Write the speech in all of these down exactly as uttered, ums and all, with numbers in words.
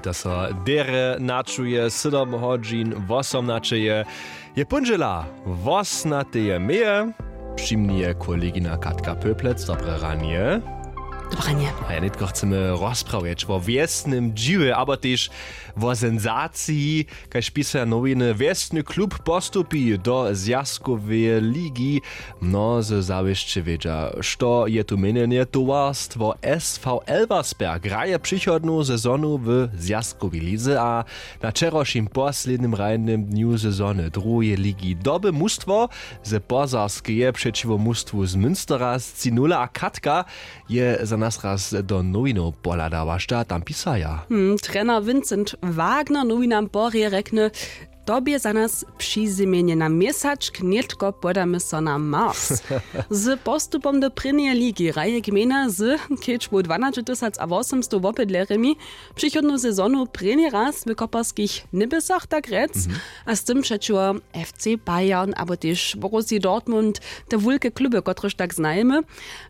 To so derje načuje sydom hodźin wosomnaćeje. Je póndźela wosnateje meje. Při mni je kolegina Katka Pöplec. Dobre ranje. Dobre ranje. A ja nětko chcemy rozprawjeć wo wjesnym dźiwje abo tež wo senzaciji, kaž pisaja nowiny, wjesny klub postupi do zwjazkoweje ligi. Mnozy zawěsće wědźa, što je tu měnjenje. Towarstwo sv elversberg hraje přichodnu sezonu w zwjazkowej lize a na wčerawšim poslednim hrajnym dnju sezony druheje ligi doby mustwo ze pozarskeje přećiwo mustwu z münstera scinula a katka je za nas raz do nowinow pohladała, što tam pisaja. Hmm, trener vincent wagner nowinam porje rjekny: To bě za nas přizymjenje na měsačk, nětko podamy so na mars. Z postupom do prěnjeje ligi hraje gmejna z kedźbu dwanaće tysac a wosomstow wobydlerjemi přichodnu sezonu prěni raz w koperskich něbysach, tak rjec. A z tym přećiwo fc bayern abo tež borussi dortmund, te wulke kluby, kotrež tak znajemy.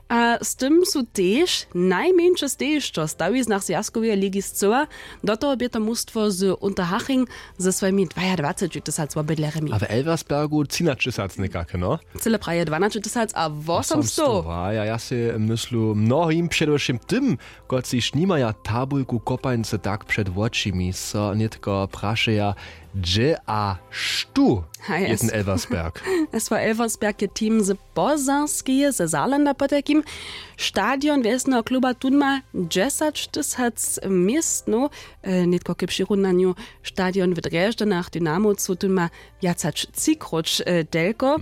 A z tym su tež najmjeńše stejišćo w stawiznach zwjazkoweje ligi scyła. Do toho bě to mustwo z unterhaching ze swojimi dwajadwaceći tysac wobydlerjemi. A w elversbergu třinaćtysac někake, no? Cyle praje dwanaće tysac a wosomstow. A ja ja sej myslu mnohim, předewšěm tym, kotřiž nimaja tabulku kopańce tak před wočimi, so nětko prašeja, hdźe a štó je ten elversberg? Swo elversberg je team z pozarskeje, ze saarlanda potajkim. Stadion wjesneho kluba tón ma dźesać tysac městnow. Nětko k přirunanju, stadion w drježdźanach dynamowcu tón ma wjac hač třikróć telko.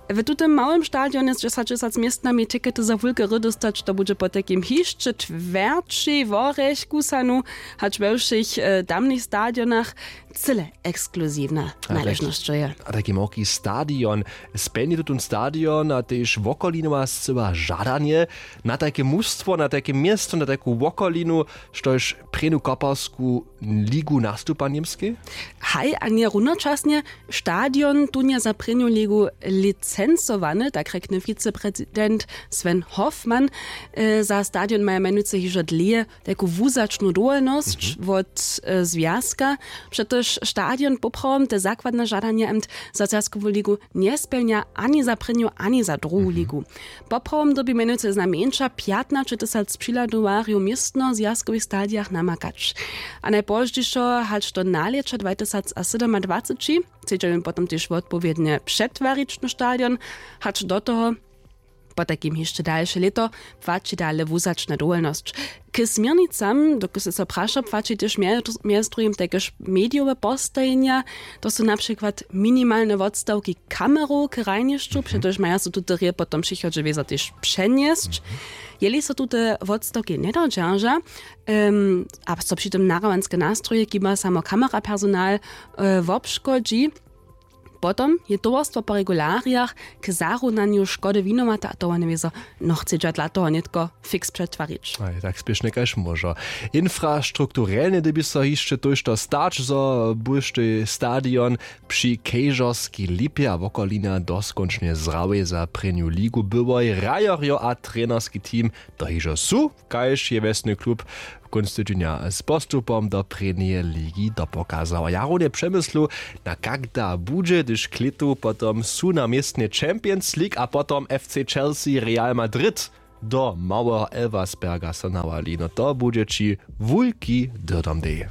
W tutym małym stadionje z dźesać tysac městnami tikety za wulke hry dóstać, to budźe potajkim hišće twjerćej worjech kusanu hač we wšěch tamnych stadionach. Cyle ekskluziwna naležnosćo je. A tajki małki stadion, spjelni tutón stadion a tež wokolinowa scyła žadanje na tajke mustwo, na tajke město, na tajku wokolinu, štož prěnu koparsku ligu nastupa němskej? Haj, a nje runočasnje. Stadion tón je za prěnju ligu licencowany, tak rjekny wiceprezident sven hoffmann. Za stadion maja mjenujcy hižo dlěje tajku wuzačnu dowolnosć wot zwjazka. Přetož stadion poprawom te zakładne žadanje amt za zwjazkowu ligu njespjelnja ani za prěnju ani za druhu ligu. Poprawom dyrbi mjenujcy znajmjeńša pjatnaće tysac přihladowarjow w městno zwjazkowych stadijach namakać. A najpozdźišo hač do nalěća dwajtysac a sydomadwaceći chcedźa jim potom tež wotpowědnje přetwarić na stadion. Hač do toho potajkim hišće dalše lěto płaći dale wuzačna dowolnosć. K směrnicam, dokelž se so prašo, płaći tež mjez druhim tajkež medijowe postajenja. To su na přikład minimalne wotstawki kamerow k hrajnišću, přetož maja so tute rěje potom přichodźe wězo tež přenjesć, jeli so tute wotstawki njedodźerža a so při tym nahrawanske nastroje kiba samo kamerapersonal wobškodźi. Potom je towarstwo po regularijach k zarunanju škody winowate a towarnje wězo nochcedźa dla toho nětko fiks přetwarić. Tak spěšnje kaž móžo. Infrastrukturelnje dyrbi so hišće tójšto stać, zo bóštej stadion při kejžorskej lipje a wokolina doskónčnje zrawjej za prěnju ligu byłoj hrajerjo a trenerski team to hižo su, kaž je wjesny klub kónc tydźenja z postupom do prěnjeje ligi dopokazał. A ja runje přemyslu, na kak da budźe, hdyž k lětu potom su na městnje champions league a potom fc chelsea real madrid do małeho elversberga so nawali. No to budźe ći wulki dyrdom dej.